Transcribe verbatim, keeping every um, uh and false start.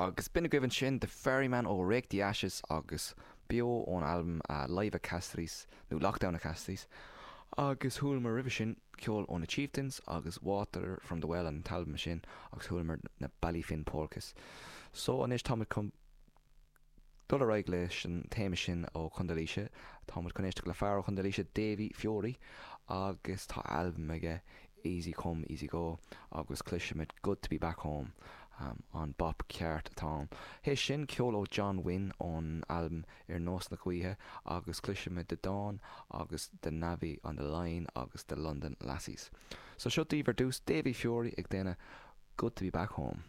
Agus b'in agaibh ansin The Ferryman ó Rake the Ashes agus beo ón albam uh, Live at Castries nó Lockdown at Castries. Agus chualamar roimhe sin ceol ó na Chieftains agus Water from the Well an t-albam sin agus chualamar na Ballyfin Polkas. So anois táimid chun dul ar aghaidh leis an téama sin ó Chontae Laoise Táimid chun éisteacht le fear ó Chontae Laoise Davy Fiore agus tá albam aige Easy Come Easy Go agus cloisfimid Good to be back home. Um, an bop ceart atá ann. Théis sin ceol ó John Wynne ón albam ar nós na gaoithe agus cloisfimid The Dawn agus The Navvy on the Line agus the London Lassies. So seo daoibh ar dtús Davy Fiore ag déanamh Good to be back home.